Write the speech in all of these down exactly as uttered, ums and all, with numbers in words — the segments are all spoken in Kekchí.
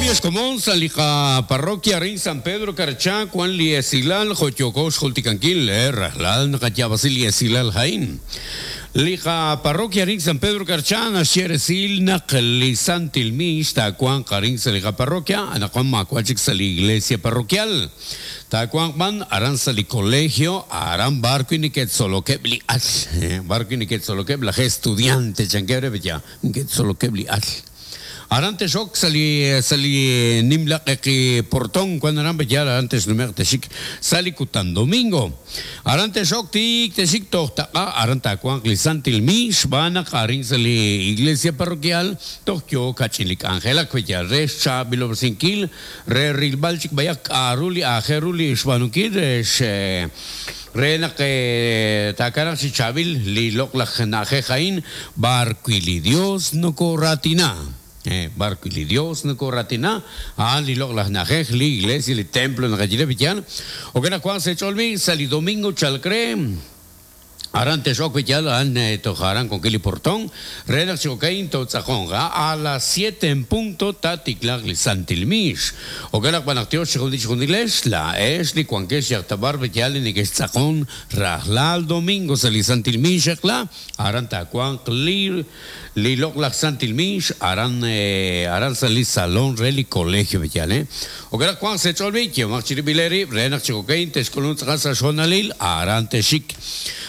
Komon sa liqa parroquia rin San Pedro Carchá Juan li esilal joyoko xjultikankil eh rajlal naqayab'asi li esilal jain liqa parroquia rin San Pedro Carchá naxye naq li santil mix taawanq arin sa liqa parroquia anaqwan maawa' sa li iglesia parroquial taawanq b'an aran sa li colegio aran barwi' neke'tzolokeb' li al eh, barwi' neke'tzolokeb' laj estudiante chankebre ya neke'tzolokeb' li al Aran texok sali sali nimla qeqi portón cuando aran ya antes numeq texik sali kutan domingo. Aran texok tik texik toj taqa aran tawanq li santil mix b'anaq arin sali iglesia parroquial toj yo kachilik angelak ya re xchaab'ilob'resinkil re rilb'al chik b'ayaq k'aru li ajeru li xb'aanunkil re xe re naq takanaq chi chaab'il li loq'laj na'ajej a'in barwi li Dios nokoratina. Eh, barco li Dios nokoratina ah li loq'laj na'ajej li iglesia li templo naqayile b'yan o que Juan se cholbi sali domingo chalcre aran texok b'yal an tojaran con kili portón re naq chokain totz'ajonga a las siete en punto tatiklaq li santilmix o que naq tiox xjundich jundilex la ex li cuankex yaqtabar b'yal ni que rajlal domingo sali santilmix la aran takuan li li loq'laj santilmix aran eh, aran sali salón re li colegio b'yal eh o que Juan se cholbi que machiribileri re naq chokain texkolun tz'aqas xonalil aran texik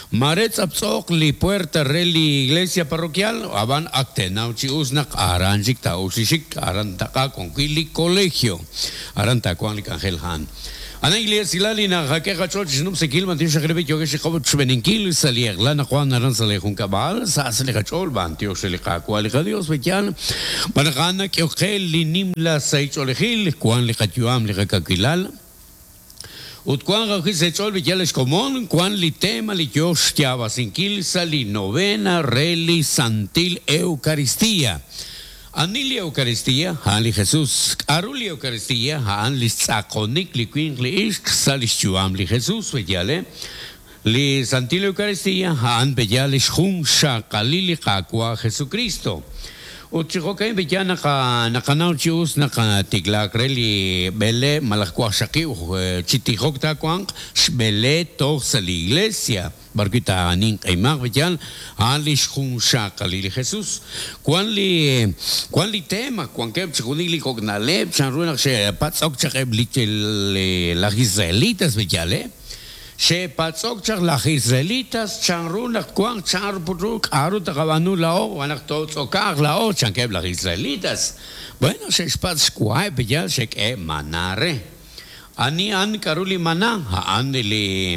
Maretz aptzok li puerta re li iglesia parroquial aban aktenaw chi usnak aran chik ta uxixik aran taqa con li colegio aran takuan li Angel Han Ana iglesia lali na jake qachol xnum sekil man tix xrebi yo que xqob chbeninkil sali lana Juan aran sali jun kabal sa sali qachol ban tio xli qaqwa li Dios bekyal banaqana que oqel li nimla saicholejil Juan li qatyuam li qakilal Ut kuan raji se chol b'yal komon kuan li tema li yox yabasinkil sali novena reli santil eucaristía. Ani li Eucaristía, a'an li Jesús. K'aru li Eucaristía, a'an li tz'aqonik li winq li ixq sa' li xyu'am li Jesús b'yal, eh? Li Santil Eucaristía, a'an b'yal xjun xaqalil li Qaawa' Jesucristo. Ut chi jo'kan b'yal naqa naqanaw chi us naqatiklak re li b'ele malaj wajxaqib' chi tijok taawanq xb'ele toj sa' li iglesia barwi' taanin q'imaq b'yal a'an li xjun xaqalil li Jesús. Kuan li kuan li tema kuankeb' chi junil li kok'na'leb' chanru naq xe'patz'ok chaq eb' li laj israelitas b'yal, eh? Xe'patz'ok chaq laj israelitas chanru naq kuan chanru putru k'aru taqab'anu la'o wanaq totz'okaq la'o chankeb' laj israelitas. Bueno, xe'xpatz' xwa'eb' b'yal xe'k'e maná re. Ani an k'aru li maná a'an li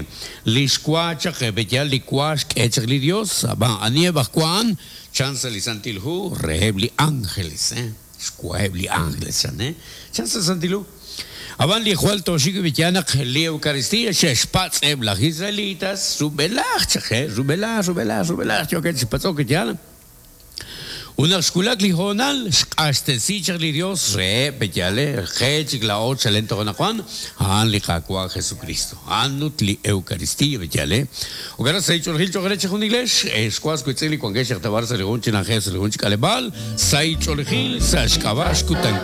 li xwa chaq b'yal li wa xk'e chaq li Dios ab'an ani eb' aj wa a'an chan sa' li Santil Hu reheb' li ángeles, eh? Xwa'eb' li ángeles chan, eh? Chan sa' Santil Hu. Aban li jwal toxik b'yal naq li Eucaristía xe'xpatz' eb' laj israelitas rub'elaj chaq, eh? Rub'elaj, rub'elaj, rub'elaj yookeb' chipatz'ok b'yal. Unaq xkulak li honal xq'axtesi chaq li Dios re b'yal, qe chik la'o chalen toj anaqwan a'an li Qaawa' Jesucristo a'an ut li Eucaristía b'yal, eh? O gara saich'olejil choq' re chi jun iglex xwas witz'il li wankex yaqtabar sa' li jun chi na'ajej sa' li jun chi k'aleb'aal saich'olejil sa' xk'ab'a' xkutankil.